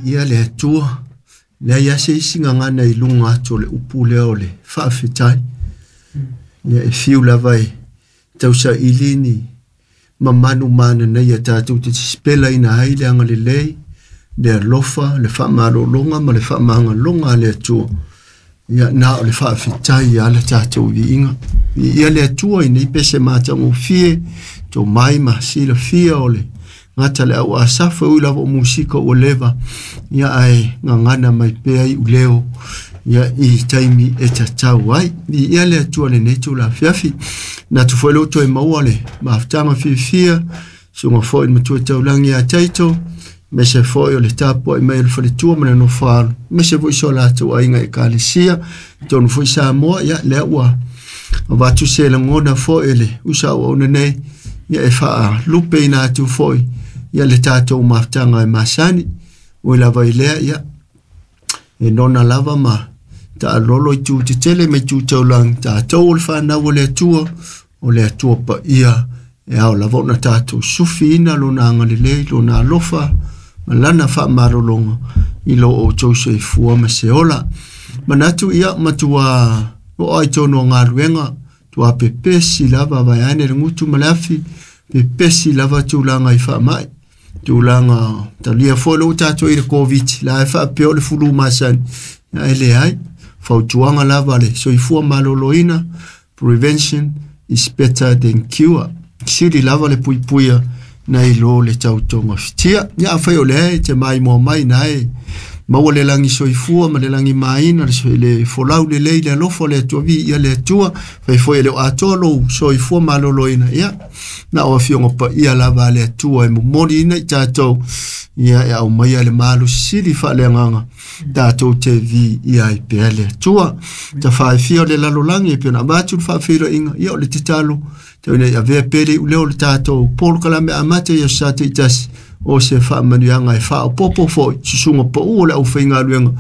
Ia le Atua, leai lava se isi gagana i luga atu o le upu lea o le faafetai. Ia e fiu lava e tausaili ni mamanu mananaia tatou te sipelaina ai le agalelei, le alofa, le faamalologa ma le faamagaloga a le Atua. Ia na o le faafetai lava le tatou viiga. Viia le Atua i nei pese matagofie, tomai ma silafia o le gata le au Asafa, ui lava o musika ua leva, ia ae gagana mai pea i uleo ia i taimi e tatau ai. Viia le Atua i lenei itula afiafi. Manatu foi lea ua toe maua le mafutaga fiafia, susuga foi i le Matua Taulagi ia Taito, aemaise foi o le tapuai mai o le faletua ma le nofo a alo, aemaise foi so latou aiga Ekalesia, totonu foi Samoa, ia lea ua avatu se lagona foi e le uso auauna nei, ia e faalupeina atu foi ia le tatou mafutaga e masani. Ui lava i lea, ia e nona lava ma taalolo i tu tetele ma i tu taulagi, tatou o le fanau o le Atua, o le Atua paia, e ao lava ona tatou sufiina lona agalelei, lona alofa, ma lana faamalologa i lo outou soifua ma se ola. Manatu ia matua oo ai tonu o galuega, tua pepesi lava vaeane le gutu ma le afi, pepesi lava tulaga i faamai, tulaga talia foi lou tatou i le Covid, la e faapea o le fulu masani, ae leai, fautuaga lava le soifua maloloina, prevention is better than cure. Sili lava le puipuia nai lo le tautogafitia. Ia afai o lea e te maimoa mai na e maua le lagi soifua ma le lagi maina, le folau lelei le alofa o le Atua, viia le Atua, fai foi e le o atoa lou soifua maloloina, ia na o afioga paia lava a le Atua e momoliina i tatou, ia e aumaia le malosi sili faaleagaga tatou te viia ai pea le Atua. Tafaefia o le lalolagi e pei ona avatu le faafeiloaiga, ia o le tatalo tau ina ia avea pea le iuleo o le tatou polokalame amata i aso Sa taitasi, o se faamanuiaga e faaopoopo foi susuga pau o le aufaigaluega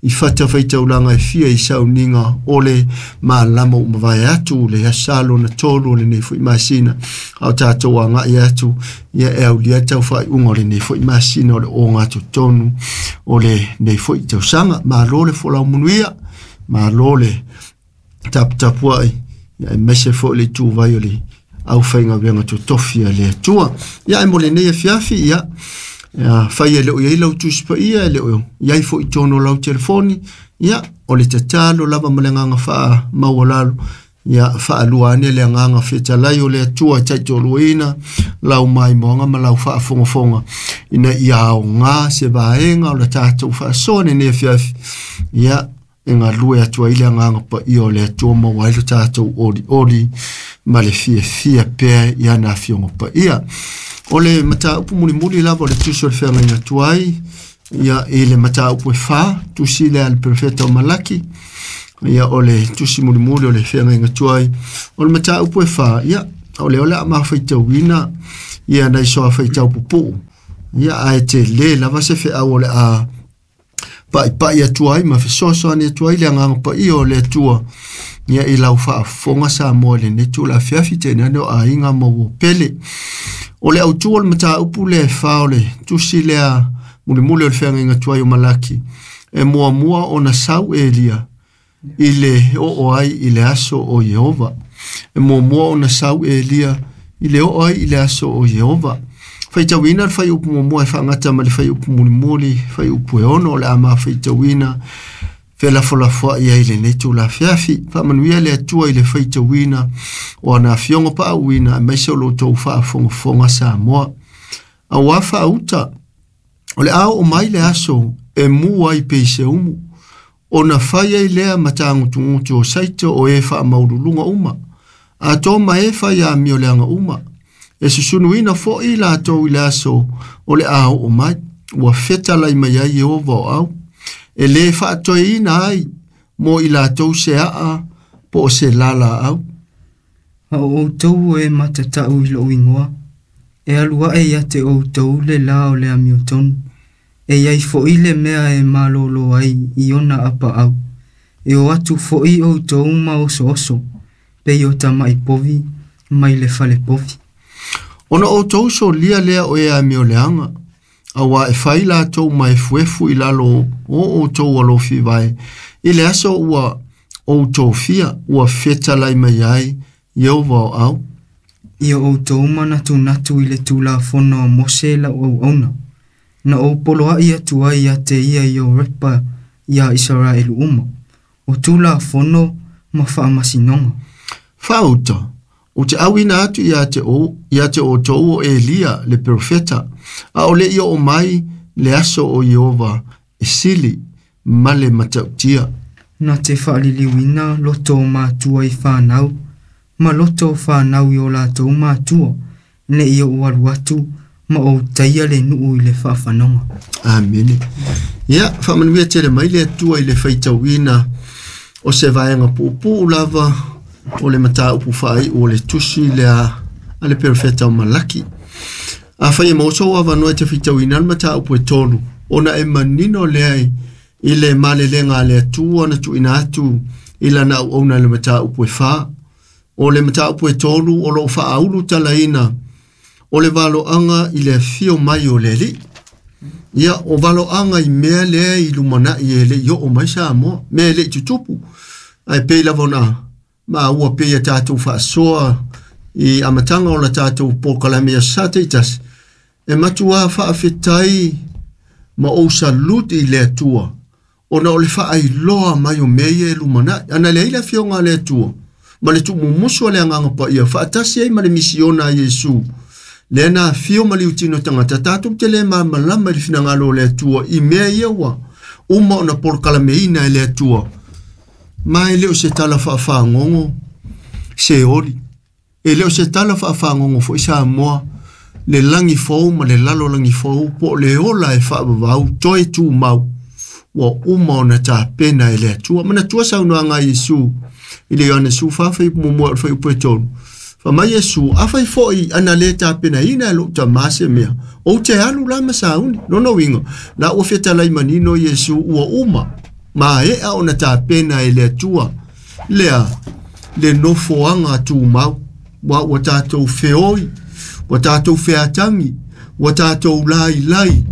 i fatafaitaulaga e fia i sauniga o le malama ua mavae atu le aso Sa lona 3 o lenei foi masina, a o tatou agai atu ia e aulia le taufaaiuga o lenei foi masina o le ogatotonu o lenei foi tausaga. Malo le folau manuia, malo le taputapuai, ia aemaise foi le ituvai o le aufaigaluega totofi a le Atua. Ia ae mo lenei afiafi, ia fai e le o i ai lau Tusi Paia, e le o i ai foi i totonu o lau telefoni, ia o le tatalo lava ma le agaga faamaualalo, ia faalua ane le agaga fetalai o le Atua e taitoaluaina lau maimoaga ma lau faafogafoga, ina ia aoga se vaega o le tatou faasoa lenei afiafi, ia e galue atu ai le agaga paia o le Atua, maua ai lo tatou olioli ma le fiafia pea i ana afioga paia. O le mataupu mulimuli lava o le tusi o le feagaiga tuai, ia i le mataupu e 4, tusi lea a le profeta o Malaki, ia o le tusi mulimuli o le feagaiga tuai, o le mataupu e 4, ia o lea o le a mafaitauina ia nai soa faitau pupuu, ia ae tele lava se feau o le a paipai atu ai ma fesoasoani atu ai le agaga paia o le Atua ia i lau faafofoga Samoa i lenei itula afiafi, tainane o aiga ma uo pele. O le autu o le mataupu lea e 4 o le tusi lea mulimuli o le feagaiga tuai o Malaki, e muamua ona sau Elia i le oo ai i le aso o Ieova. E muamua ona sau Elia i le oo ai i le aso o Ieova. Faitauina le fuaiupu muamua e faagata ma le fuaiupu mulimuli, fuaiupu e 6 o le a mafaitauina felafolafoai ai lenei itula afiafi. Faamanuia le Atua i le faitauina o ana afioga paauina, aemaise o lo outou faafogafoga Samoa. Auā faauta, o le a oo mai le aso e mu ai pei se umu, ona fai ai lea ma tagutugutu o saito o e faamaululuga uma, atoa ma e fai amio leaga uma, e susunuina foi latou i le aso o le a oo mai, ua fetalai mai ai Ieova o au, e lē faatoeina ai mo i latou se aa po o se lalaau. A o outou o e matatau i lou igoa, e alu ae ia te outou le la o le amiotonu, e iai foi le mea e malolo ai i ona apaau, e o atu foi outou ma osooso, pei o tamai povi mai le fale povi. Ona outou solia lea o e amio leaga, Auā e fai latou ma efuefu i lalo o outou alofi vae i le aso ua ou tofia ua fetalai mai ai Ieova o au. Ia outou manatunatu i le Tulafono a Mose lau auauna, na ou poloaʻi atu ai ia te ia i Horepa iā Isaraelu uma, o Tulafono ma faamasinoga. Faauta, ou te auina atu ia te, o, ia te outou o Elia le perofeta, a o le i oo mai le aso o Ieova e sili ma le matautia. Na te faaliliuina loto o matua i fanau, ma loto o fanau i o latou matua, neʻi ou alu atu ma ou taia le nuu i le faafanoga. Amene. Ia, faamanuia tele mai le Atua i le faitauina o se vaega puupuu lava o le mataupu faaiu o le tusi lea a le perofeta o Malaki. Afai e maua sou avanoa e te faitauina le mataupu e 3, ona e manino lea i le malelega a le Atua na tuuina atu i lana auauna i le mataupu e 4. O le mataupu e 3 o loo faaulu talaina o le valoaga i le afio mai o le Alii. Ia, o valoaga i mea lea i lumanai e le i oo mai Samoa, mea e le i tutupu. Ae pei lava ona maua pei a tatou faasoa i amataga o la tatou polokalame i aso Sa taitasi, e matuā faafetai ma ou saluti i le Atua ona o le faailoa mai o mea ia e lumanai. Ana leai le afioga a le Atua ma le tuumumusu o le Agaga Paia faatasi ai ma le misiona a Iesu, lea na afio ma liutino tagata, tatou te le malamalama i le finagalo o le Atua i mea ia ua uma ona polokalameina e le Atua. Ma e le o se tala faafagogo se oli, e le o se tala faafagogo foi Samoa, le lagi fou ma le lalolagi fou po o le ola e faavavau toe tumau ua uma ona tapena e le Atua. Manatua saunoaga a Iesu i le Ioane 14 fuaiupu 1 o le fuaiupu e 3. Fai mai Iesu, afai foi ana le tapenaina e lou tamā se mea, ou te alu la ma sauni. Lona uiga, la ua fetalai manino Iesu ua uma, maea ona tapena e le Atua lea le nofoaga tumau, ua tatou feoi, ua tatou featagi, ua tatou lailai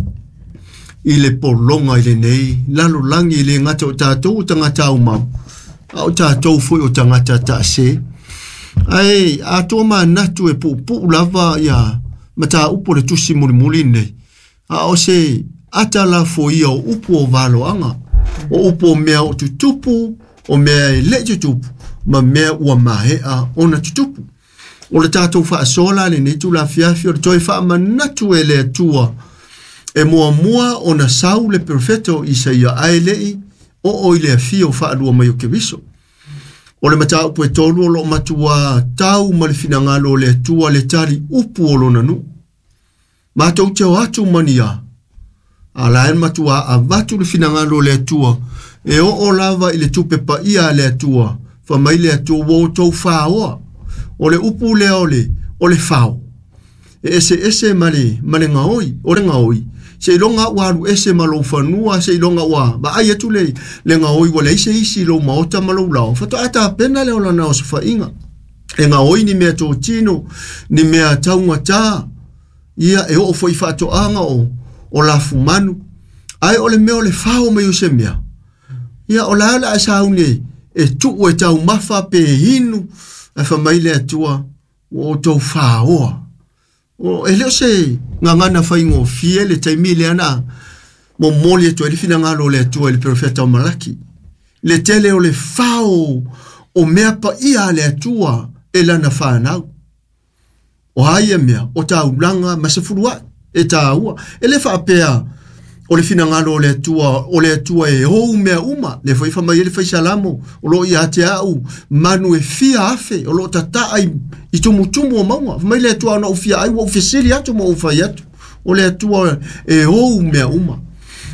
i le pologa i lenei lalolagi, e le gata o tatou o tagata aumau, a o tatou foi o tagata taase. Ae atoa manatu e puupuu lava ia mataupu o le tusi mulimuli nei, a o se ata lafoia o upu o valoaga, o upu o mea o tutupu, o mea e le i tutupu, ma mea ua maea ona tutupu. O le tatou faasoa la lenei tulafiafi o le toe faamanatu e le Atua e muamua ona sau le perofeta o Isaia ae leʻi oo i le afio faalua mai o Keriso. O le mataupu e 3 o loo matuā tau ma le finagalo o le Atua le tali upu o lona nuu. Matou te o atu mania, a la e matuā avatu le finagalo o le Atua e oo lava i le tupe paia a le Atua, fai mai le Atua ua outou faoa. O le upu lea o le fao, e eseese ma le gaoi. O le gaoi, seiloga ua alu ese ma lou fanua, seiloga ua vaai atu le gaoi ua leai se isi i lou maota ma lou lao, faatoa tapena lea o lana osofaiga. E gaoi ni mea totino, ni mea taugatā, ia e oo foi i faatoaga o lafumanu. Ae o le mea o le fao mai o se mea, ia o la o le a sauni e tuu e taumafa pe inu, ae fai mai le Atua ua outou faoa. O e le o se gagana faigofie le taimi lea na momoli atu ai le finagalo o le Atua i le perofeta o Malaki. Le tele o le fao o mea paia a le Atua e lana fanau. O a ia mea, o taulaga ma se fuluai e tāua. E le faapea o le finagalo o le Atua, o le Atua e ou mea uma. Le foi fai mai ai le faisalamo, o loo ia te au manu e fia afe, o loo tataa i tumutumu o mauga. Fai mai le Atua ona ou fia ai, ua ou fesili atu ma ou fai atu. O le Atua e ou mea uma.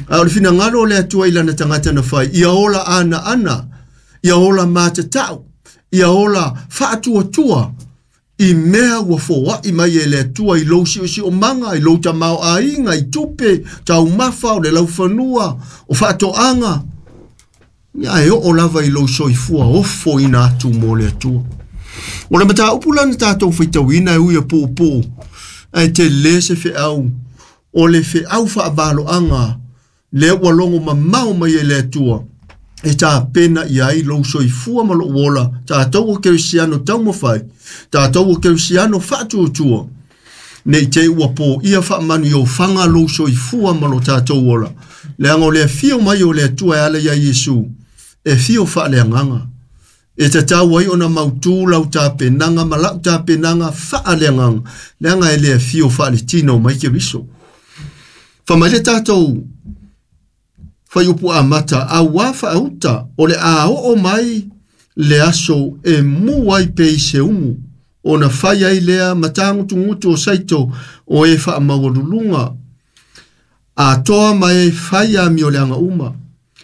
A o le finagalo o le Atua i lana tagata na fai, ia ola ana ana, ia ola matatau, ia ola faatuatua i mea ua foai mai e le Atua i lou siosiomaga, i lou tamaoaiga, i tupe, taumafa, o le laufanua, o faatoaga. Ia e oo lava i lou soifua ofo ina atu mo le Atua. O le mataupu la na tatou faitauina e ui e puupuu, ae tele se feau O le feau faavaloaga lea ua logo mamao mai e le Atua e tapena i ai lou soifua ma lou ola, tatou o kerisiano taumafai, tatou o kerisiano faatuatua, nei te ua po ia faamanu i ofaga lou soifua ma lo tatou ola. Leaga o le afio mai o le Atua e ala ia Iesu, e fio faaleagaga. E tatau ai ona mautū lau tapenaga ma lau tapenaga faaleagaga, leaga e le afio faaletino mai Keriso. Fa mai le tatou faiupu amata, auā faauta o le a oo mai le aso e mu ai pei se umu, ona fai ai lea matagutugutu o saito o e faamaualuluga atoa ma e fai amio leaga uma.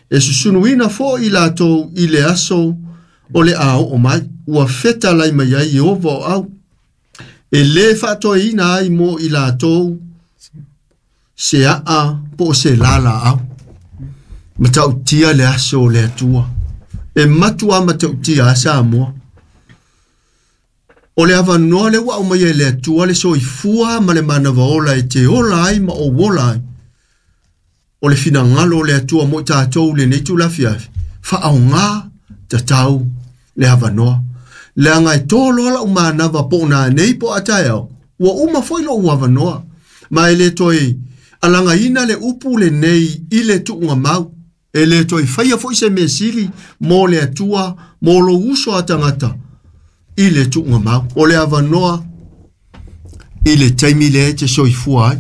E susunuina foʻi latou i le aso o le a oo mai, ua feta lai mai ai Ieova o au, e lē faatoeina ai mo i latou se aa po o se lalaau. Matautia le aso o le Atua. E matua matautia a Samoa. O le avanoa le ua aumai e le Atua le soifua ma le manava ola e te ola ai ma ou ola ai. O le finagalo o le Atua mo i tatou lenei tulafiafi. Faaaogā tatau le avanoa. Leaga e toloa lau manava po o nanei po o a taeao. Ua uma foi lou avanoa. Ma e le toe alagaina le upu lenei i le tuugamau. E le toe faia foi se mea sili mo le Atua, mo lou uso a tagata i le tuugamau. O le avanoa i le taimi lea e te soifua ai.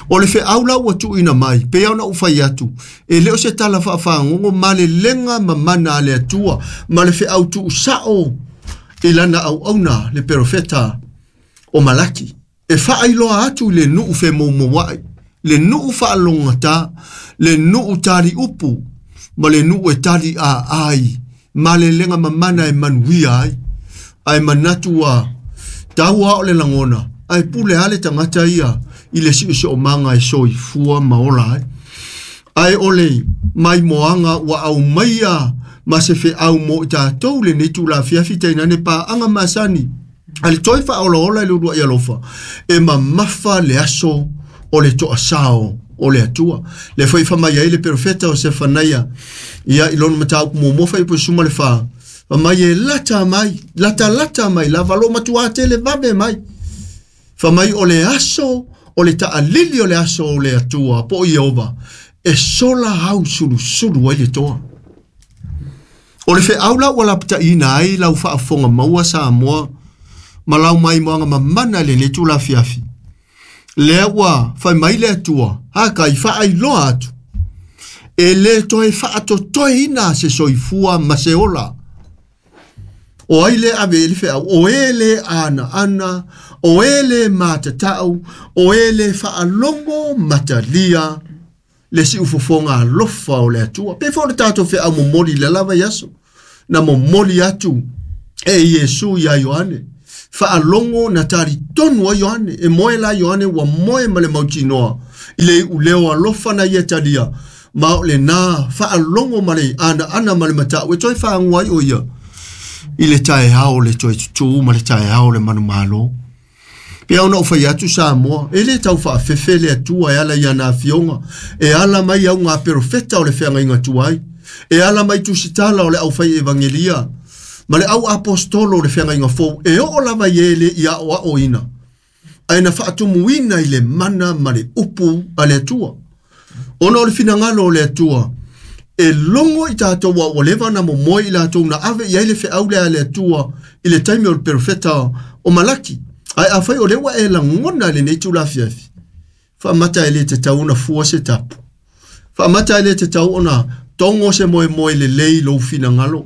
O le feau la ua tuuina mai, pei ona ou fai atu, e le o se tala faafagogo ma le lega mamana a le Atua, ma le feau tuusao i lana auauna le perofeta o Malaki. E faailoa atu i le nuu femoumouai, le nuu faalogogata, le nuu tali upu, ma le nuu e tali aai, ma le lega mamana e manuia ai. Ae manatu ua tau a o le lagona, ae pule a le tagata ia i le siosiomaga e soifua ma ola ai. Ae o le maimoaga ua aumaia ma se feau mo i tatou lenei tulafiafi tainane paaga masani. A le toe faaolaola i le uluai alofa, e mamafa le aso o le toasao o le Atua. Le foi famai ai le perofeta o Sefanaia, ia i lona mataupu muamua faiupu 14, famai e lata mai, lata lata mai lava lo matua tele vave mai. Famai o le aso, o le taalili o le aso o le Atua, po o Ieova, e sola au sulusulu ai le toa. O le feau la ua lapataina ai lau faafofoga maua Samoa, ma lau maimoaga mamana lenei tulafiafi. Lea ua fai mai le Atua, haka i faailoa atu. E le toe faatotoeina se soifua ma se ola. O ai le ave i le feau, o e le ana ana, o e le matatau, o e le faalogo matalia, le siufofoga alofa o le Atua. Pe foi o le tatou feau momoli le lava i aso. Na momoli atu e Iesu ia Ioane. Faalogo na talitonu ai Ioane. E moe la Ioane ua moe ma le mautinoa. I le iuleo alofa na ia talia. Ma o lena faalogo ma le ana ana ma le matau. E toe faagua ai o ia. I le taeao le toe tutū ma le taeao le manumalo. Pe ona ou fai atu Samoa, e le tau faafefe le Atua e ala i ana afioga, e ala mai au ngā perofeta o le feagaiga tuai, e ala mai tusitala o le aufai evangelia, ma le au apostolo o le feagaiga fou, e oo lava i e le i aoaoina, ae na faatumuina i le mana ma le upu a le Atua. Ona o le finagalo o le Atua, e logo i tatou a ua leva na momoe i latou na ave i ai le feau lea a le Atua i le taimi o le perofeta o Malaki. Ae afai o lea ua e lagona i lenei tulafiafi, faamata e le tatau ona fua se tapu. Faamata e le tatau ona togo se moemoe lelei lou finagalo.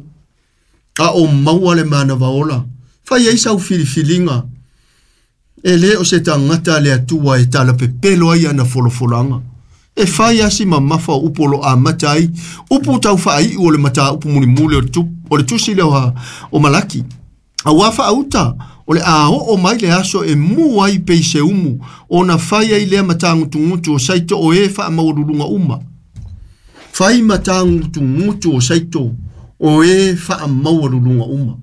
A o maua le manava ola. Fai ai sau filifiliga. E le o se tagata le Atua e talapepelo ai ana folafolaga. E fai asi mamafa o upu o lo amata ai. Upu tau faaiu o le mataupu mulimuli o le tusi lea o Malaki. Auā faauta o le a oo mai le aso e mu ai pei se umu, ona fai ai lea matagutugutu o saito o e faamaualuluga uma. Fai matagutugutu o saito o e faamaualuluga uma.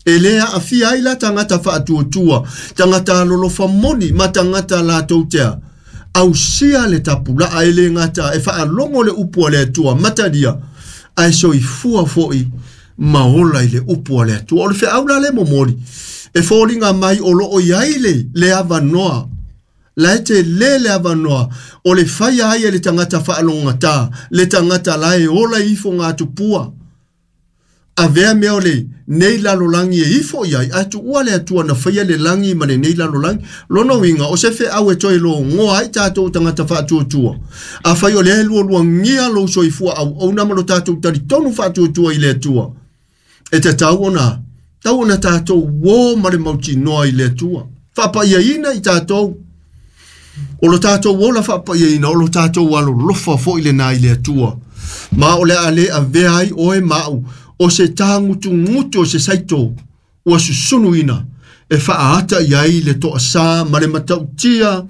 E le aafia ai la tagata faatuatua, tagata alolofa moni ma tagata latou tea. Ausia le tapulaa e le gata e faalogo le upu a le Atua matalia ae soifua foʻi ma ola i le upu a le Atua. O le feau la le momoli e foliga mai o loo iai le avanoa la e telē le avanoa o le faia ai e le tagata faalogogata le tagata la e ola i ifoga tupua avea mea o le nei lalolagi e ifo i ai ae tuua le Atua na faia le lagi ma lenei lalolagi. Lona uiga o se feau e toe logoa ai tatou tagata faatuatua. Afai o lea e lualuagia lou soifua auauna ma lo tatou talitonu faatuatua i le Atua, e tatau ona tau ona tatou uō ma le mautinoa i le Atua. Faapaiaina i tatou o lo tatou ola faapaiaina o lo tatou alolofa foʻi lenā i le Atua. Ma o le a lē avea ai oe ma au o se tagutugutu o se saito ua susunuina e faaata i ai le toasā ma le matautia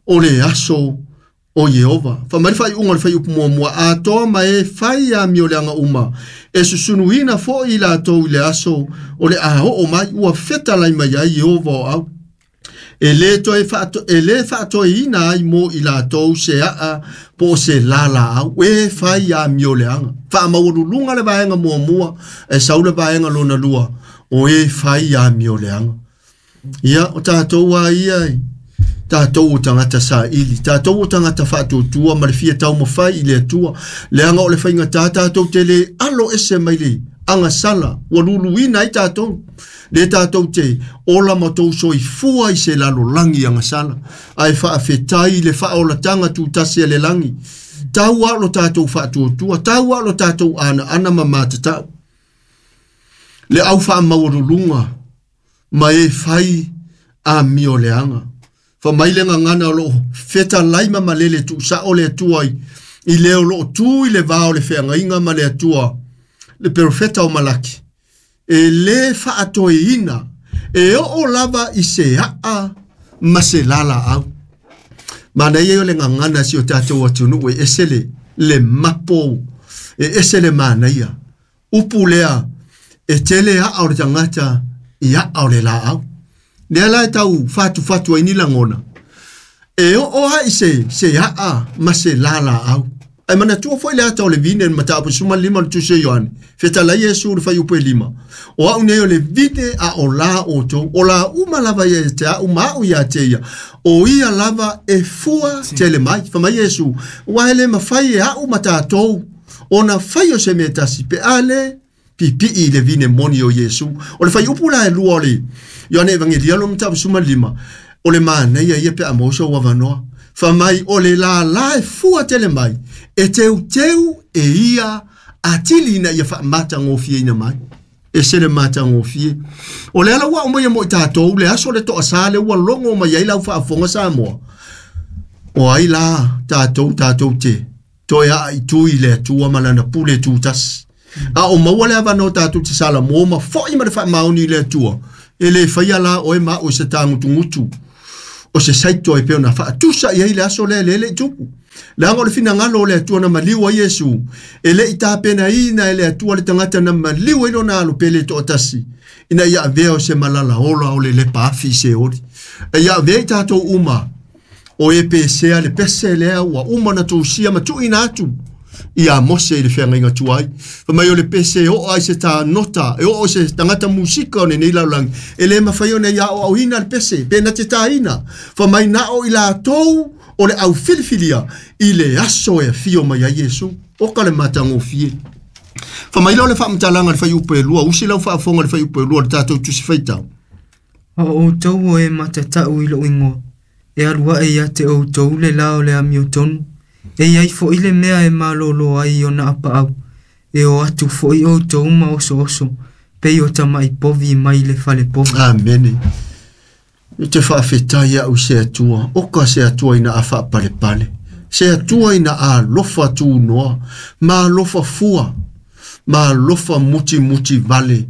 o le aso o Ieova. Faamai le faaiuga o le faiupu muamua atoa ma e fai amioleaga uma e susunuina foʻi i latou i le aso o le a oo mai ua fetalai mai ai Ieova o au. E lē faatoeina ai mo i latou se aa po o se lalaau e fai amioleaga. Faamaualuluga le vaega muamua e sau le vaega lona lua o e fai amioleaga. Ia o tatou a ia tatou o tagata saili, tatou o tagata faatuatua ma le fia taumafai i le Atua. Leaga o le faigatā tatou te lē alo ese mai le agasala ua luluina ai tatou. Le tatou te ola ma tou soifua i se lalolagi agasala ae faafetai le faaolataga tutasi a le lagi. Tau a lo tatou faatuatua, tau a lo tatou anaana ma matatau. Le au faamaualuluga ma e fai amioleaga. Faamai le gagana o loo fetalai ma malele tuusao le Atua i le o loo tu i le va o le feagaiga ma le Atua le perofeta o Malaki. E lē faatoeina e oo lava i se aa ma se lalaau. Manaia o le gagana si o tatou atunuu e ese le mapo e ese le manaia. Upu lea e tele aa o le tagata i aa o le laau. Lea la e tau fatufatu ai ni lagona. E oo ai se aa ma se lalaau. Ae manatua foʻi le ata o le vine le mataupu 15 o le tusi o Ioane. Fetalai Iesu le faiupu e 5. O au nei o le vine a o la outou. O la uma lava ia te au ma au ia te ia. O ia lava e fua tele mai. Faamai Iesu, ua e le mafai e au ma tatou ona fai o se mea tasi pe a le pipii i le vine moni o Iesu. O le faiupu la e lua o le Ioane Evangelia lo mataupu 15. O le manaia ia pe a maua sou avanoa. Faamai o le lālā e fua tele mai e teuteu e ia atili ina ia faamatagofieina mai. E se le matagofie. O le ala ua aumai mo i tatou le aso le toasā le ua logo mai ai lau faafofoga Samoa. O ai la tatou tatou te toe aa i tui le Atua ma lana pule tutasi. A o maua le avanoa tatou te salamo ma foʻi ma le faamaoni i le Atua. E lē faia la oe ma au i se tagutugutu o se saito e pei ona faatusa i ai le aso lea le i tupu. Leaga o le finagalo o le Atua na maliu ai Iesu, e le i tapenaina e le Atua le tagata na maliu ai lona alo pele toatasi, ina ia avea o se malala ola o le lepa afi i Seoli. E ia avea i tatou uma o e pesea le pese lea ua uma na tousia ma tuuina atu ia Mose i le feagaiga tuai. Faamai o le pese e oo ai se tanota, e oo se tagata musika o lenei lalolagi, e lē mafai ona ia aoaoina le pese, pe na te tāina. Faamai na o i latou o le au filifilia i le aso e afio mai ai Iesu. O ka le matagofie. Faamai la o le faamatalaga le faiupu e lua, usi lau faafofoga le faiupu e lua le tatou tusi faitau. A o outou o e matatau i lou igoa, e alu ae ia te outou le la o le amiotonu, e iai foʻi le mea e malōlō ai ona apaau, e o atu foʻi outou ma osooso, pei o tamaʻi povi mai le fale povi. Amene. E te faafetai au se Atua, oka se Atua ina a faapalepale. Se Atua ina alofa tunoa, ma alofa fua, ma alofa mutimuti vale.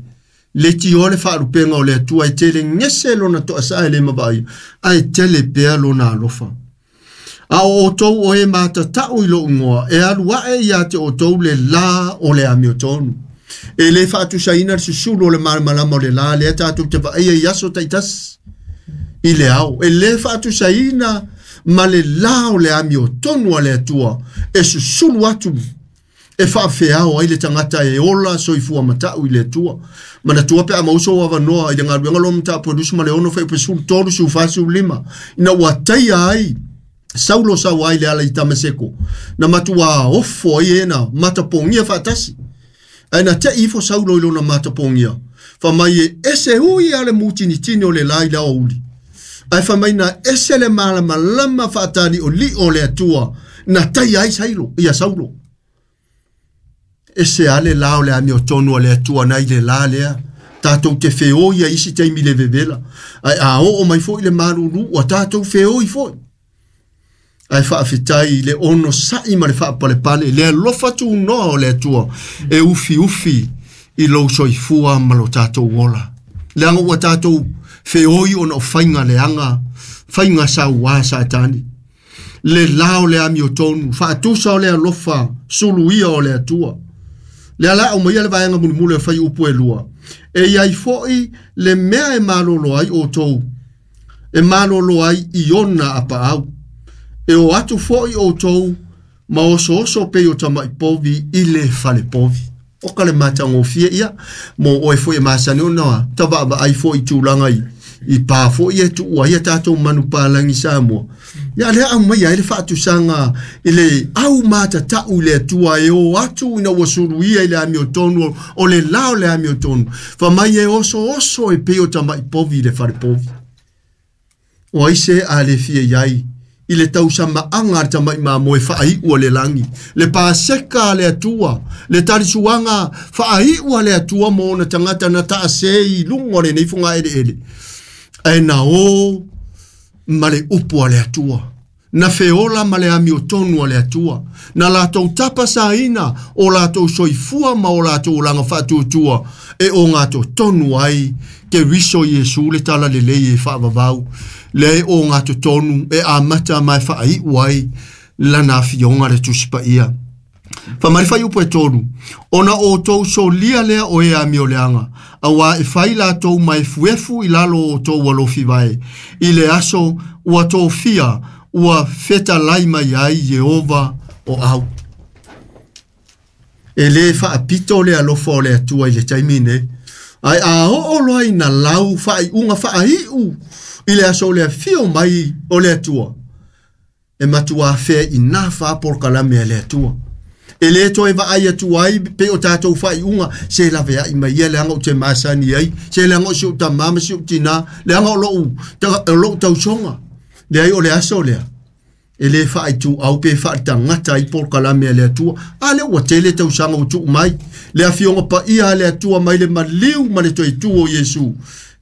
Le tio le faalupenga o le Atua e tele gese lona toasaa e le mavaai, ae tele pea lona alofa. A o outou o e matatau i lou igoa, e alu ae ia te outou le la o le amiotonu. E lē faatusaina le susulu o le malamalama o le la lea tatou te vaaia i aso taitasi i le ao. E lē faatusaina Ma le la o le amiotonu a le Atua e susulu atu e faafeao ai le tagata e ola soifua matau i le Atua. Manatua pe a maua sou avanoa i le galuega loa mataupu e 26 fuaiupu 13, 14, 15, ina ua taia ai Saulo sau ai le ala i Tamaseko, na matuā ofo ai e na matapogia faatasi. Ae na te'i ifo Saulo i lona matapogia, fai mai e ese ui a le mutinitini o le la i le aoauli. Ae fai mai na ese le malamalama faatali'oli'o o le Atua na taia ai Sailo, ia Saulo. Ese a le la o le amiotonu a le Atua nai le la lea. Tatou te feoi ai isi taimi le vevela. Ae a oo mai foi le malulu, ua tatou feoi foi. Ae faafetai i le onosai ma le faapalepale, le alofa tunoa o le Atua e ufiufi i lou soifua ma lo tatou ola. Leaga ua tatou feoi ona o faiga leaga, faiga sauā Satani. Le la o le amiotonu, faatusa o le alofa, suluia o le Atua. Lea la aumaia le vaega mulimuli o fuaiupu e 2. E i ai foi le mea e malolo ai outou, e malolo ai i ona apaau. E o atu foi outou ma osooso pei o tama'i povi i le fale povi. O ka le matagofie ia, mo oe foi e masani ona tavaavaai foi i tulaga i pa foi e tuua ai a tatou manupapalagi Samoa. Ia lea aumaia ai le faatusaga i le au matatau i le Atua e o atu ina ua suluia i le amiotonu o le la o le amiotonu. Fai mai e osooso e pei o tama'i povi i le fale povi. O ai se a le fia i ai i le tausamaaga a le tama'i mamoe faaiu a le lagi, le paseka a le Atua, le talisuaga faaiu a le Atua mo ona tagata na taasē i luga o lenei fogaeleele, ae na o ma le upu a le Atua, na feola ma le amiotonu a le Atua, na latou tapasaina o latou soifua ma o latou olaga faatuatua e ogatotonu ai Keriso Iesu le talalelei e faavavau, lea e ogatotonu e amata ma e faaiu ai lana afioga le Tusi Paia. Fai mai le fuaiupu e 3, ona outou solia lea o e amioleaga, auā e fai latou ma efuefu i lalo o outou alofi vae, i le aso ua tofia ua fetalai mai ai Ieova o au. E lē faapito le alofa o le Atua i le taimi nei, ae a oo loa ina lau faaiuga faaiu i le aso o le afio mai o le Atua, e matuā feaina fa polokalame a le Atua. E lē toe vaai atu ai pei o tatou faaiuga se laveai mai ia leaga ou te masani ai, se leaga o si ou tamā ma si ou tinā, leaga o lou tausoga. Leai o le aso lea, e lē faaituau pe faaletagata ai polokalame a le Atua. A lea ua tele tausaga ua tuu mai le afioga paia a le Atua mai le maliu ma le toe tu o Iesu,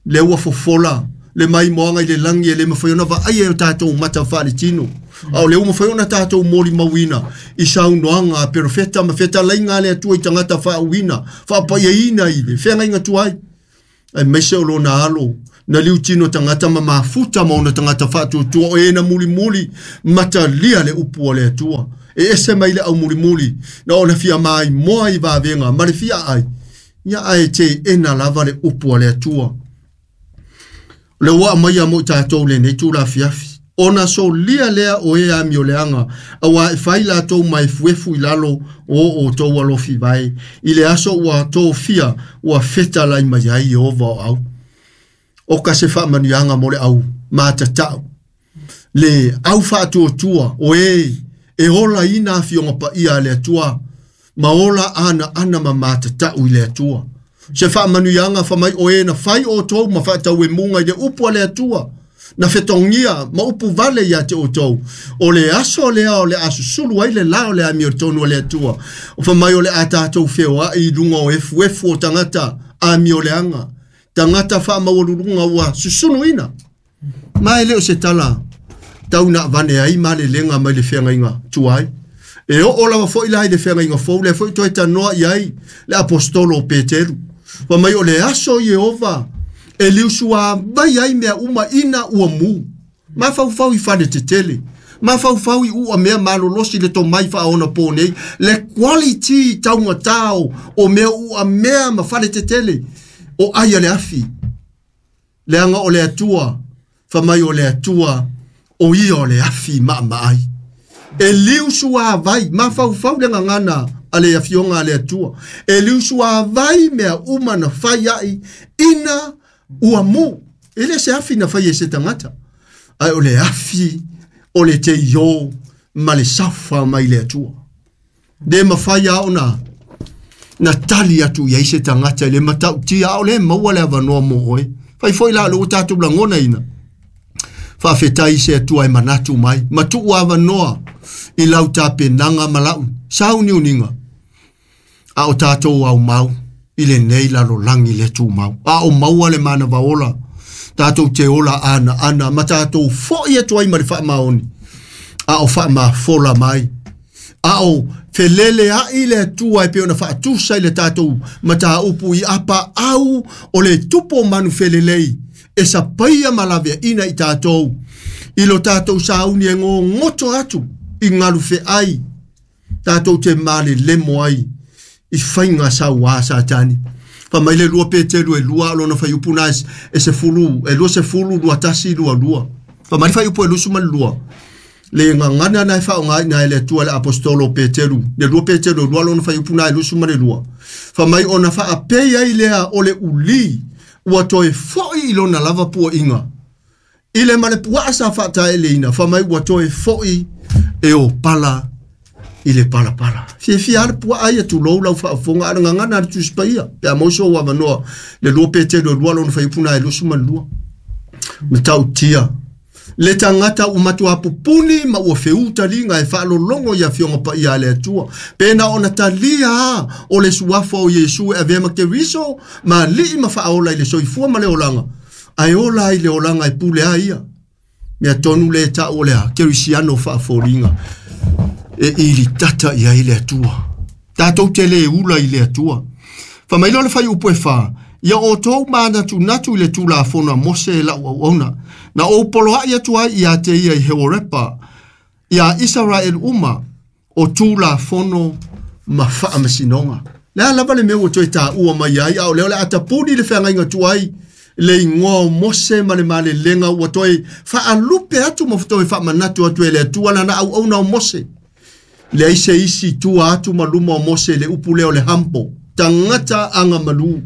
lea ua fofola le maimoaga i le lagi e le mafai ona vaaia e o tatou mata faaletino. A o lea ua mafai ona tatou molimauina i saunoaga a perofeta ma fetalaiga a le Atua i tagata faauuina, faapaiaina i le feagaiga tuai, aemaise o lona alo na liutino tagata ma mafuta ma ona tagata faatuatua o e na mulimuli matalia le upu a le Atua. E ese mai le aumulimuli na ona fia maimoa i vavega ma le fia ai, ia ae teena lava le upu a le Atua. Le ua aumaia mo i tatou lenei tulafiafi, ona solia lea o e amioleaga, auā e fai latou ma efuefu i lalo o outou alofi vae, i le aso ua tofia ua fetalai mai ai Ieova o au. O ka se faamanuiaga mo le au matatau, le au faatuatua o e e olaina afioga paia a le Atua ma ola anaana ma matatau i le Atua. Se faamanuiaga fai mai o e na fai outou ma faatauemuga i le upu a le Atua, na fetogia ma upu vale ia te outou, o le aso lea o le a susulu ai le la o le amiotonu a le Atua. O fai mai o le a tatou feoai i luga o efuefu o tagata amioleaga, tagata faamaualuluga ua susunuina. Ma e le o se tala tau na avane ai malelega mai le feagaiga tuai. E oo lava foi la i le feagaiga fou, lea foi toe tanoa i ai le apostolo o Peteru. Fai mai o le aso Ieova e liusua vai ai mea uma ina ua mu. Mafaufau i fale tetele, mafaufau i ua mea malolosi le tomai faaonapo nei, le quality taugatā o mea ua mea ma fale tetele o ai a le afi. Leaga o le Atua, fai mai o le Atua O ia o le afi maamaai. E liusu a vai, mafaufau le gagana a le afioga a le Atua. E liusu a vai mea uma na fai ai ina ua mu. E le se afi na fai e se tagata. Ae o le afi o le teio ma le safa mai le Atua. Le mafai a ona na tali atu i ai se tagata i le matautia a o le maua le avanoa mo oe. Fai foi la o tatou lagona ina. Faafetai se Atua e manatu mai. Ma tuu avanoa i lau tapenaga ma lau sauniuniga. A o tatou au mau i lenei lalolagi le tumau. A o maua le manava ola. Tatou te ola ana ana ma tatou foi atu ai ma le faamaoni. A o faamafola mai. A o felele ai le Atua e pei ona faatusa i le tatou mataupu i apa au o le tupo manu felelei. E sapaia ma laveaina i tatou. I lo tatou sauni e gogoto atu i galu feai. Tatou te malelemo ai i faiga sauā Satani. Fa mai le 2 Peteru e 2 lona faiupu na e se fulu, e 20, 21, 22. Fa mai faiupu e 22. Le gagana na e faaaoga ina e le Atua le apostolo Peteru. Le 2 Peteru e 2 lona faiupu na e 22. Fa mai ona faapei ai lea o le uli ua toe foi i lona lava puaiga. I le ma le puaa sa faataeleina, fa mai ua toe foi e o pala i le palapala. Fiafia le puaa ia tulou lau faafofoga a le gagana a le Tusi Paia. Pe a maua sou avanoa le 2 Peteru e 2 lona faiupu na e 22. Matautia. Le tagata ua matua pupuni ma ua feutaliga e faalologo i afioga paia a le Atua. Pe na ona talia a o le suafa o Iesu e avea ma Keriso ma alii ma faaola i le soifua ma le olaga. Ae ola ai le olaga e pule a ia. Mea tonu le tau o le a Kerisiano faafoliga. E ili tata i ai le Atua. Tatou te le ula i le Atua. Fa mai loa le faiupu e 4. Ia outou manatunatu i le Tulafono a Mose e lau auauna. Na ou poloai atu ai ia te ia i Heorepa, ia Israel uma, o Tulafono ma faamasinoga. Le a lava le mea ua toe taua mai ai, a o lea o le a tapuni le feagaiga tuai, le igoa o Mose ma le malelega ua toe faalupe atu ma toe faamanatu atu e le Atua lana auauna o Mose. Leai se isi tua atu ma luma o Mose le upu lea o le humble, tagata agamalu.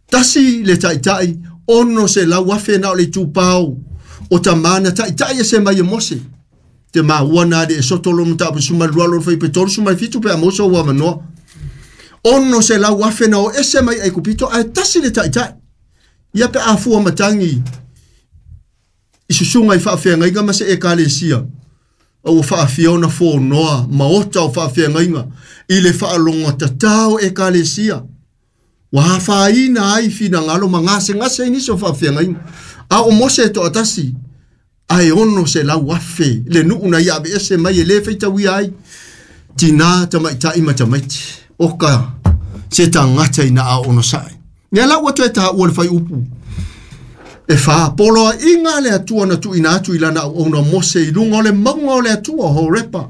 Tasi le taitai, 600,000 na o le itupao o tamana taitai e se mai e Mose. Te maua na le e soto lo matapu suma lua lo fai pe tolu suma fitu pe a Mose ua manoa. 600,000 na o ese mai ai kupito ae tasi le taitai. Ia pe afua matangi i susuga i faafeagaiga ma se ekalesia. Ua faafia ona fonoa maota o faafeagaiga i le faalogotatao ekalesia. Ua afaina ai finagalo ma gasegase ai nisi o faafeagaiga. A o Mose e toatasi, ae 600,000 le nuu na ia aveese mai e le faitauia ai. Tina tamaitai ma tamaiti. O ka se tagata ina a ono sae. Ia la ua toe taua le faiupu. E 4, poloaiga le Atua na tuuina atu i lana auauna Mose i luga o le mauga o le Atua, Horepa.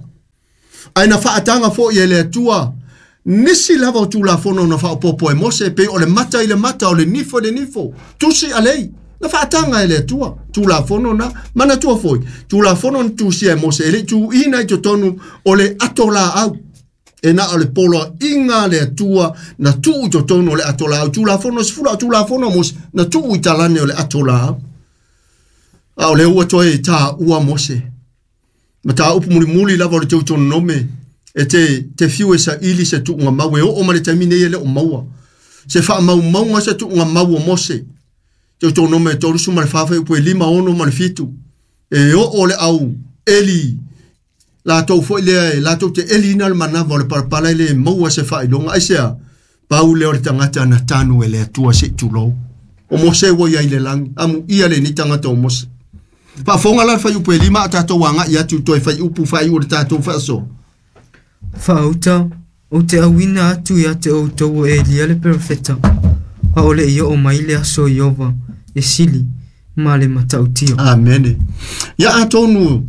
Ae na faataga foi e le Atua nisi lava o Tulafono na faaopoopo e Mose, pei o le mata i le mata, o le nifo i le nifo, tusi alei. Na faataga e le Atua Tulafono na manatua foi. Tulafono na tusia e Mose, e le tuuina i totonu o le ato laau. E na o le poloaiga le Atua na tuu i totonu o le ato laau. Tulafono 10 o Tulafono Mose na tuu i talane o le ato laau. A o le ua toe taua Mose. Ma tāupu mulimuli lava o le Teutonome e te fiu e saili se tuuga mau e oo ma le taimi nei e le o maua. Se faamaumauga se tuuga mau o Mose. Teutonome e 34 faiupu e 5, 6 ma le 7. E oo le au eli latou foi lea e latou te eliina le manava o le palapala e le maua se faailoga. Aisea, pau lea o le tagata na tanu e le Atua se i tulou. O Mose ua iai le lagi, amuia lenei tagata o Mose. Faafofoga la le faiupu e 5 a tatou agai atu toe faiupu faaiu o le tatou faasoa. Faauta, ou te auina atu ia te outou o Elia le perofeta, a o le i oo mai le aso Iova e sili ma le matautia. Amene. Ia atonu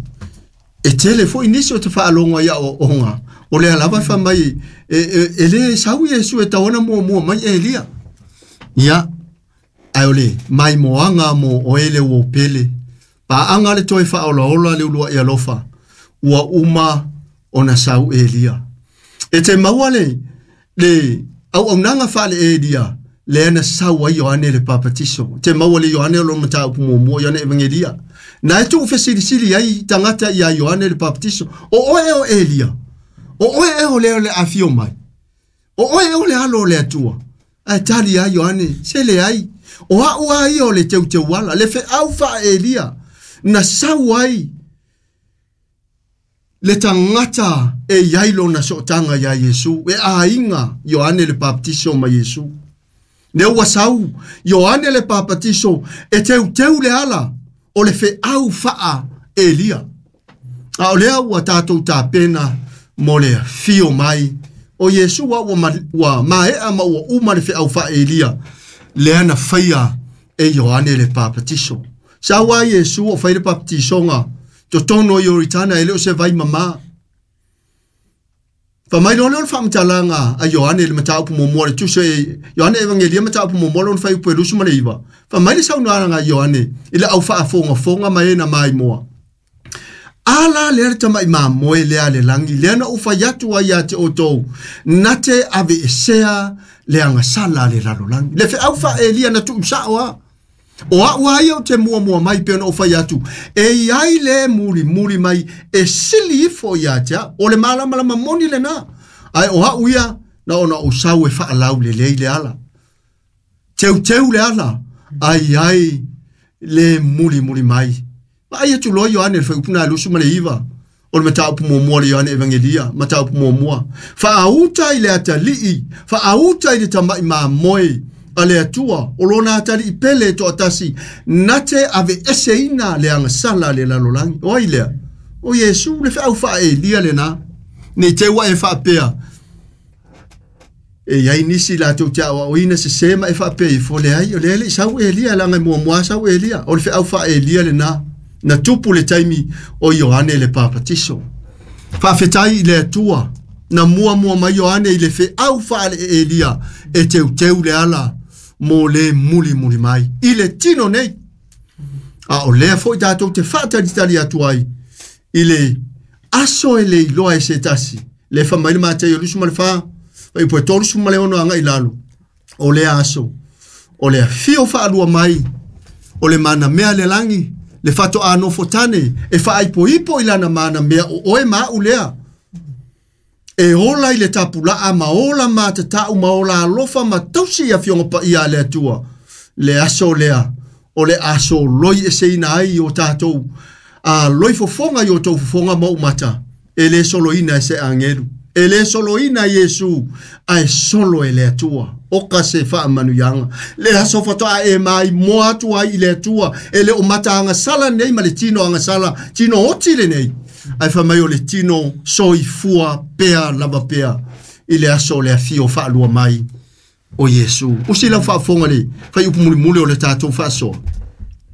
e tele foi nisi o te faalogo ia aoaoga. O lea lava e faamai e le sau Iesu e tauana muamua mai Elia. Ia, ae o le maimoaga mo oe le uo pele. Paanga le toe faaolaola le uluai alofa, ua uma ona sau Elia. E te maua le auaunaga faale Elia, lea na sau ai Ioane le Papatiso. Te maua le Ioane o lo mataupu muamua Ioane Evangelia. Na e tuu fesilisili ai tagata ia Ioane le Papatiso. O oe o Elia. O oe e o lea o le afio mai. O oe o le alo o le Atua. Ae tali ai Ioane, se leai. O au a ia o le teuteuala, le feau faa Elia. Na sau ai le tagata e iai lona sootaga ia Iesu, e aiga Ioane le Papatiso ma Iesu. Ne ua sau Ioane le Papatiso e teuteu le ala o le feau faa Elia. A o lea ua tātou tapena mo le fio mai o Iesu ua maea ma ua uma le feau faa Elia, lea na faia e Ioane le Papatiso. Sau ai Iesu o fai le papatisoga totonu o Ioritana e le o se vai mamā. Fa mai loa lea o le faamatalaga a Ioane le mataupu muamua le tusi e Ioane Evangelia mataupu muamua lona fuaiupu e 29. Fa mai le saunoaga a Ioane i le au faafogafoga ma e na maimoa. Ala lea le tamai mamoe lea le lagi, lea na ou fai atu ai ia te outou, na te aveesea le agasala le lalolagi. Le feau faa-Elia na tuu sao a. O au ai au te muamua mai pe ona ou fai atu, e iai le muli muli mai e sili ifo ia te au. O le malamalama moni lena. Ae o au ia na ona ou sau e faalau lelei le ala. Teuteu le ala, ai ai le muli muli mai. Ma ai atu loa Ioane le fuaiupu na 29. O le mataupu muamua le Ioane Evangelia, mataupu muamua. Faauta i le atalii, faauta i le tamai mamoe a le Atua, o lona atalii pele toatasi, na te aveeseina le agasala le lalolagi. O ai lea? O Iesu le feau faa-Elia lena. Nei te ua e faapea. E iai nisi latou te aoaoina se se ma e faapea ifo le ai, o le le sau Elia, laga e muamua sau Elia. O le feau faa-Elia lena. Na tupu le taimi o Ioane le Papatiso. Faafetai i le Atua, na muamua mai Ioane i le feau faale Elia, e teuteu le ala mo le muli muli mai. I le tino nei. A o lea foi tātou te whaatalitali atu ai i le aso e le iloa e se tasi. Le fa mai le Matei o 24, fai po e 36 anga i lalo. O le aso, o le fio whaalua mai, o le mana mea le langi, le fato a nofo tane, e whaaipo ipo i lana mana mea o oe ma ulea. E ola i le tapulaa ma ola ma tatau ma ola alofa ma tausi ia fionga pa ia le Atua. Le aso lea, o le aso loi e seina ai o tātou, a loi fofonga i o tau fofonga ma umata, e le soloina e se angelu. E le soloina Iesu, a e solo e le Atua. O ka se faamanuiaga. Le aso fatoa e mai moa atu ai i le Atua, e le o mata agasala nei ma le tino agasala, tino oti le nei. Ai fa mai o le tino soifua pea lava pea i le aso o le afio faalua mai o Iesu. Usi lau faafofoga le fuaiupu mulimuli o le tatou faasoa.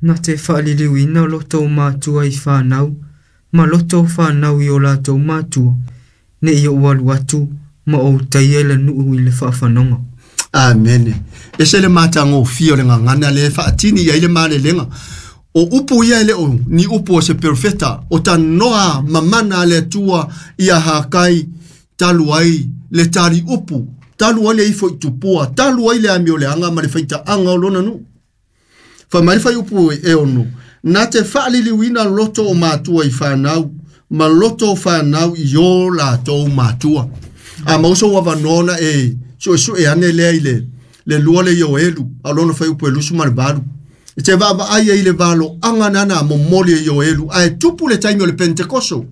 Na te faaliliuina loto o matua i whanau, ma loto o whanau i o latou matua, ne i o alu atu, ma o taia le nuu i le faafanoga. Amene. E se le matagofie o le gagana le faatini i ai le malelega. O upu ia e le o ni upu o se perofeta, o tanoa mamana a le Atua ia Hakai, talu ai le tali upu, talu ai le ifo i tupua, talu ai le amio le anga ma le faitaaga o lona nuu. Fa mai fai upu e ono, na te faaliliuina loto o matua i whanau, ma loto o whanau i o latou matua. A mauso ua vanona e sue ane lea i le lua le Ioelu, a lona fai upu e 28. E te vaavaai ai i le valo anga nana momoli e Ioelu, ae tupu le taimi o le Pentekoso.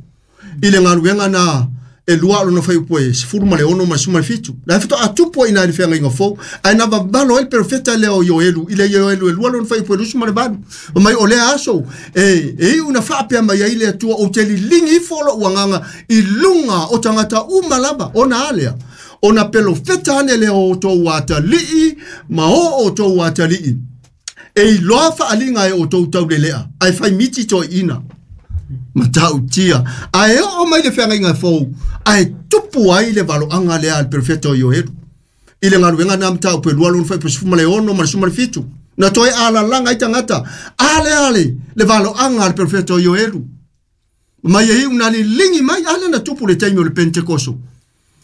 I le galuega na e lua lona fai upu e 16 ma le 17. Na e faatoa tupu ai ina i le feagaiga fou, ae na vavalo ai le perofeta lea o Ioelu, i le Ioelu e lua lona fai upu e 28. O mai o lea aso, e iu na faapea mai ai le Atua, ou te liligi ifo lou agaga i luga o tagata uma lava, ona a lea. Ona perofeta ane lea o outou atalii, ma o outou atalii. E iloa faaliga e outou taulelea, ae fai miti toeina. Matautia. Ae oo mai le feagaiga fou, ae tupu ai le valoaga lea a le perofeta o Ioelu. I le galuega na mataupu e lua lona fuaiupu e 16 ma le 17. Na toe alalaga ai tagata ale ale le valoaga a le perofeta o Ioelu. Mai e iu na liligi mai ale na tupu le taimi o le Pentekoso.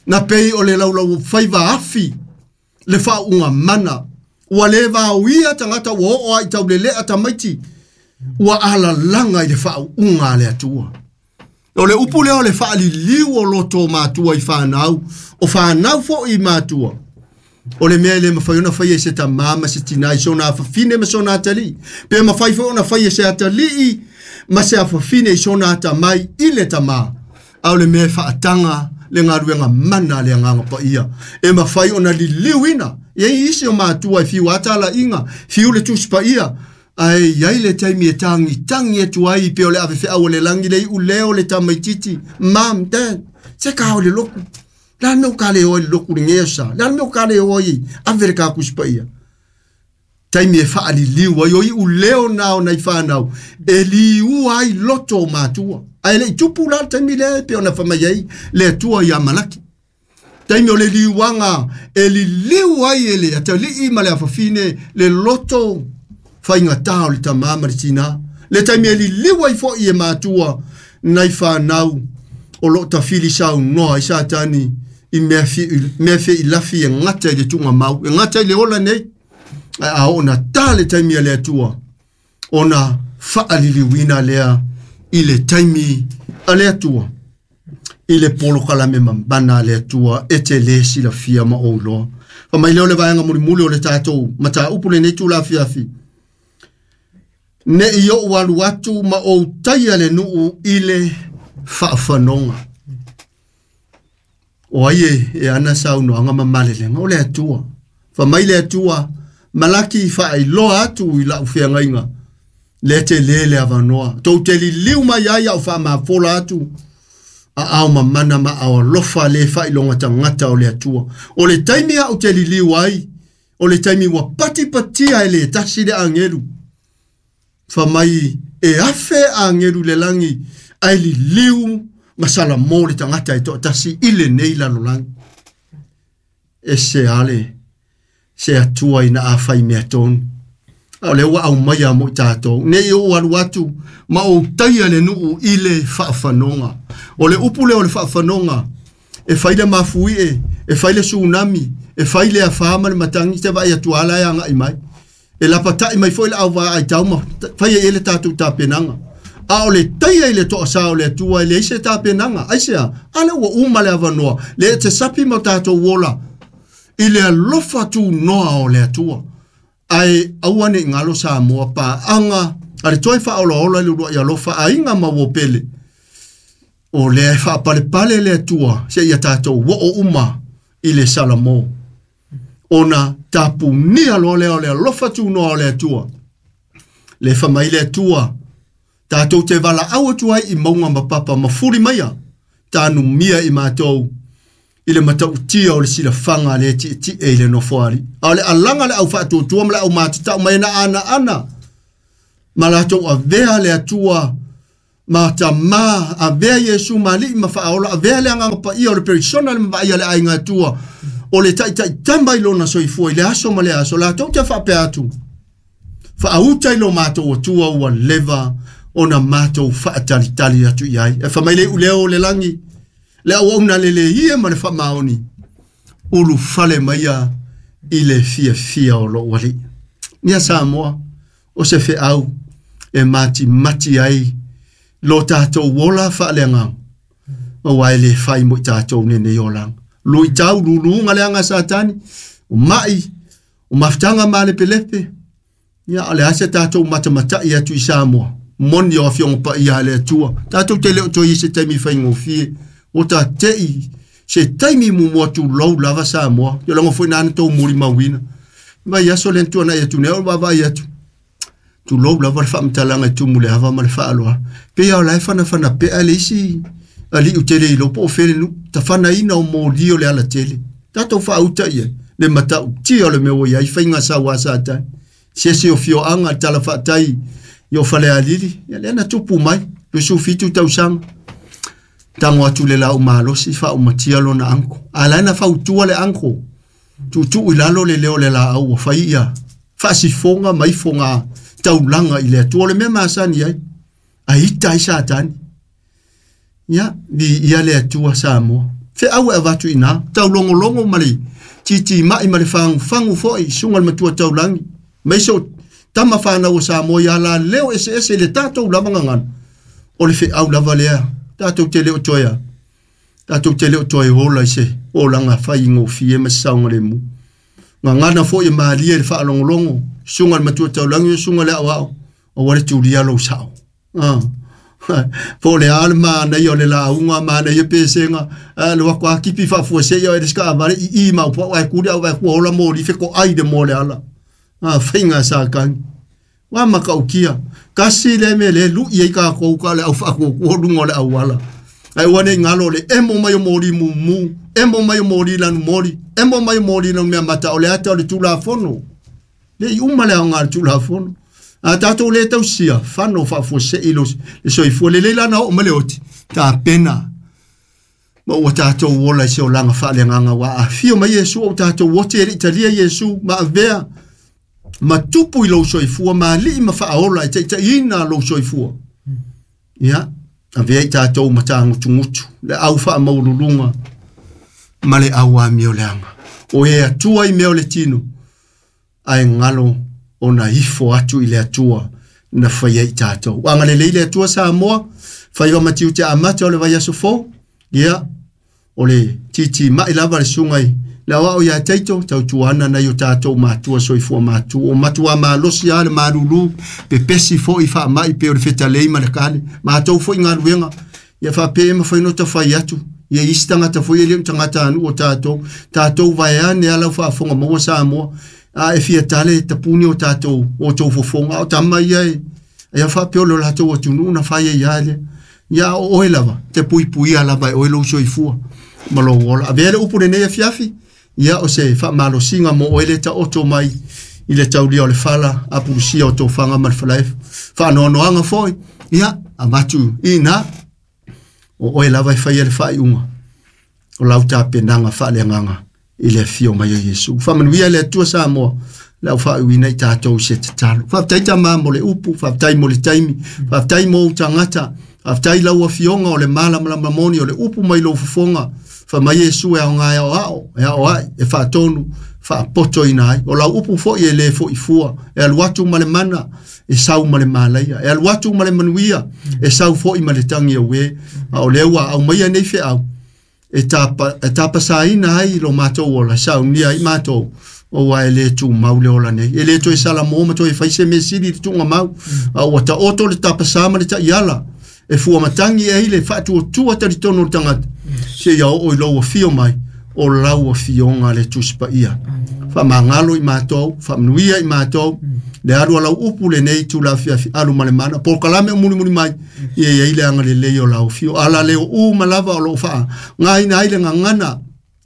Na pei o le laulau faiva afi le faauuga mana. Ua le vaoia tagata ua oo ai taulelea tamaiti. Ua alalaga i le faauuga a le Atua. O le upu lea o le faaliliu o loto matua i whanau, o whanau fo i matua. O le mea e le mawhai ona whai e se tamā ma se tinā i sona afafine ma sona atalii. Pe mawhai fo ona whai e se atalii ma se afafine i sona atamai i le tamā. A o le mea e whaatanga le ngaruenga mana le anganga pa ia. E mawhai ona liliuina. Ia isi o matua i fiu atala inga, fiu le tusipa ia. Ai iai le taimi e tangi, tangi e tuai pe o le ave whea o le langi le u leo le tamaititi. Mam, dad, se ka o le loku. La meo ka le oi loku le ngea sa. La meo ka le oi ave le ka kusipa ia. Taimi e whaaliliu ai oi u leo nao nei whanau. E liu ai loto matua. Ai le i tupu la taimi le pe ona whamai ai le atua i Amalaki. Taimi o le liuanga e liliu ai e le atalii ma le afafine le loto whainga tā o le tamā ma le tina. Le taimi e liliu ai fo i e matua nei whanau o lo tawhili sau noa i Satani i mea fe i lafi e ngata i le tunga mau. E ngata i le ola nei. A ona tā le taimi a le atua. Ona whaaliliwina lea i le taimi a le atua. I le polokalame mambana a le atua e te le silafia ma o loa. Fa mai leo le vaenga mulimuli o le tātou mata upu le nei tū fiafi. Ne i o alu atu ma o taia le nuu i le whaawhanonga. O ai e ana saunoanga ma malelenga o le atua. Fa mai le atua malaki whaailoa atu i lau whiangainga. Le te lele avanoa. Tau te liliu mai ai au whaamafola atu. A au mamana ma au alofa le whailonga tangata o le atua. O le taimi au te liliu ai. O le taimi wa patipatia e le tasi le angelu. Fa mai e afe angelu le langi. Ai liliu masala mō le tangata e toa tasi i le nei lalo langi. E se ale. Se atua ina a whai mea tonu. A o le ua au mai a mo i tātou. Nei o alu atu, ma o taia le nuu i le whaawhanonga. O le upu le o le whaawhanonga, e whai le mafui e, e whai le tsunami, e whai le awha le matangi te vai atu ala e anga i mai. E lapatai mai foi le au vaa ai tauma, whai e ele tātou tāpenanga. A o le taia i le toa sa o le atua, e le ise tāpenanga. Ai sea, ale ua uma le awanoa, le e te sapi ma tātou wola, i le alofa tu noa o le atua. Ai aua ne ngalo sa moa pa anga a le toi whaola ola le urua i alofa a inga ma wopele. O le whaapale pale le atua se ia tātou wo o uma i le Salamo. Ona tapu nia loa lea o le alofa tu noa o le atua. Le whamai le atua tātou te wala au atu ai i maunga mapapa mafuri maia tānu mia i mātou. I le matautia o le silafanga le ti ti e le nofoari. A o le alanga le au whaatuatua ma le au mātatau mai na ana ana. Ma latou avea le atua ma tamā avea Iesu mali ma whaola avea le anganga pa ia o le perisona le mawai le ainga atua. O le taitai tamba i lona soifua i le aso ma le aso. Latou te whaapea atu. Whaauta i lo mātou atua ua leva o na mātou whaatalitali atu i ai. E whamaile uleo le langi. Le au au na lele ia ma le whamaoni. Ulu fale maia i le fia fia o lo wali. Nia Samoa, o se fe au e mati mati ai lo tātou wola whaaleanga. Ma wai le whai mo i tātou nene i olang. Lui tau lulunga le anga Satani. O mai, o mafutanga ma le pelepe. Ia ale ase tātou matamatai atu i Samoa. Moni o awhionga pa ia le atua. Tātou te leo toi i se taimi whaingofie. O tā tei, se taimi mu atu lau lava Samoa. Yo lango foi nana tau muri mawina. Mai aso le ntua na i atu neo wava i atu. Tu lau lava le whaamtalanga i tumu le hava ma le whaaloa. Pe ia o lai whana whana pe a le isi ali u tele i lopo o fele nu. Ta whana ina o mō o le ala tele. Tātou whaauta ia. Le matau tia o le mea o ia i whainga sa wā sa tai. Se se o fio anga tala whaatai i o whale alili. Ia le ana tupu mai. Le sufitu tausanga. Tango atu le lau malosi fa o matia lona anko. A laina fa utua le anko. Tutu i lalo le leo le la au wa whai ia. Faasifoga ma ifoga taulaga i le Atua. O le mea masani ai, a ita ai Satani. Ia, viia le Atua Samoa. Feau e avatu i ina, taulogologo ma le titimai ma le fagufagu foi, suga le matua taulagi. Mai so tama whanau o Samoa ia la leo ese ese le tātou lava ngangana. O le feau lava lea, tātou te leo toea. Tātou te leo toe hola i se o langa whai ngō fie ma saunga le mu. Ngangana foi e maalia le whaalongolongo, sunga le matua taulangi, sunga le au au, o wale tulia lo sao. Po le ale mana i o le launga mana i pesenga le wako akipi whaafua se i o ereska avare i i mau po ai kuri au vai kua hola mōri wheko ai de mō le ala. Whainga sa kangi. Wa makaukia. Kasi le me le lu i ka kou ka le au whaako kua lungo le au ala. Ai wane ngalo le emo mai o mōri mumu, emo mai o mōri lanu mōri, emo mai o mōri lanu mea mata o le ata o le tūlafono. Le i uma le au ngā le tūlafono. A tātou le tausia, whano whaafua se i lo le soifua le leila na o male oti. Tā pena. Ma ua tātou wola i se o langa whaale nganga wa. A fio mai Yesu o tātou wote e le Italia Yesu ma avea. Ma tupu i lo soifua, ma alii ma whaaola e teita ina lo soifua. Ia, avea i tātou matāngutungutu, le au wha maululunga, ma le au a mio leanga. O e atua i meo le tino, ai ngalo o na ifo atu i le atua na whaia i tātou. Anga le leile atua Samoa, whaiwa matiu te amata o le vai aso fō, ia, o le titi mai lava le sungai, le awao ia teito, tau tuana na i o tātou mātua soifua mātua, o matua malosi a le marulu, pe pesi fo i wha mai pe o le fetalei ma le kale, mātou fo i ngā ruenga, ia wha pe ma whaino ta whai atu, ia isi tangata fo i le tangata anu o tātou, tātou vaeane ala whaafonga maua Samoa, a e fia tale tapuni o tātou, o tau fofonga, o tama ia e, ia wha pe o le lātou atunu na whai e ia le, ia o oe lava, te pui pui a lava e oe lo soifua, ma lo ola. A vea le upu le nei a fiafi, ia o se wha mo oe le ta oto mai i le taulia o le whala, a purusia o tō whanga ma le whalae, wha foi, ia, a matu i nā, o oe lava e whai e le whai unga, o lau tā penanga wha le nganga, i le fio mai o Yesu. Whamanuia le Atua Samoa, le au whaauina i tātou se te talo. Whaftai tā mā mo le upu, whaftai mo le taimi, whaftai mo utangata, whaftai lau afionga o le malamalama moni o le upu mai lo fufonga, wha mai Yesu e au ngā ao ao, e ao ai, e whaatonu, whaapoto ina ai. O lau upu fo i e le fo i fua, e alu atu ma le mana, e sau ma le malaia, e alu atu ma le manuia, e sau fo i ma le tangi au e, a o lea au mai nei fe au, e tapasaina ai lo mātou ola, saunia i mātou, o wa e le tū mau le ola nei. E le toe sala mō ma toe whaise me sili le tūnga mau, a ua ta oto le tapasa ma le ta iala, e fua matangi e le whaatua tua tari tono le tangata, se ia o i lau fio mai, o lau fionga le tuspa ia. Wha mangalo i mātou, wha mnuia i mātou, le alu alau upu le nei tū la fiafi alu ma le mana, por kalame o muli muli mai, ia ia ile anga le lei o lau fio, ala leo u malava o lo wha, ngā ina aile ngā ngana,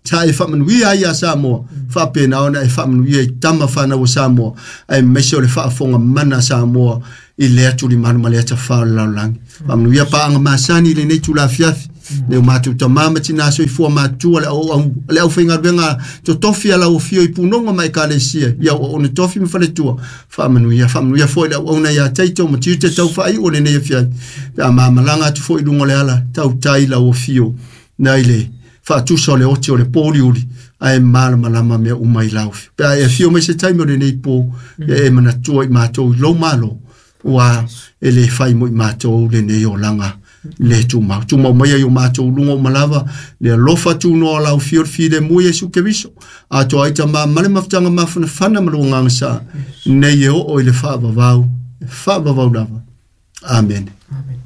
sa e wha ai a Samoa, wha pēnā ona e wha manuia i tama whanau o Samoa, ai meise o le whaafonga mana Samoa, i le atu li manu ma le ata wha o le laulangi. Wha manuia paanga masani le nei tū la fiafi, le o mātou tamama tina soifua mātua le au whaingaruenga to tofi ala o fio i punonga mai ka lesia ia o ona tofi ma faletua wha manuia foi le au auna ia teito ma tiute tau whai o le nei fiafi pe a mamalanga atu foi lungo le ala tau tai la o fio nei le whaatusa o le oti o le pōriuri ae malamalama mea umai lau fio pe a e fio mai se taimi o le nei pō e manatua i mātou i lou malo ua e le whai mo i mātou le nei o langa le tūmau. Tūmau mai ai o mātou lunga o malava, le alofa tūnoa lau fio le mu Yesu Keriso. A toa ai ta mā male mawhitanga mawhana whana malunga sa, nei e o i le whaavavau, whaavavau lava. Amen. Amen.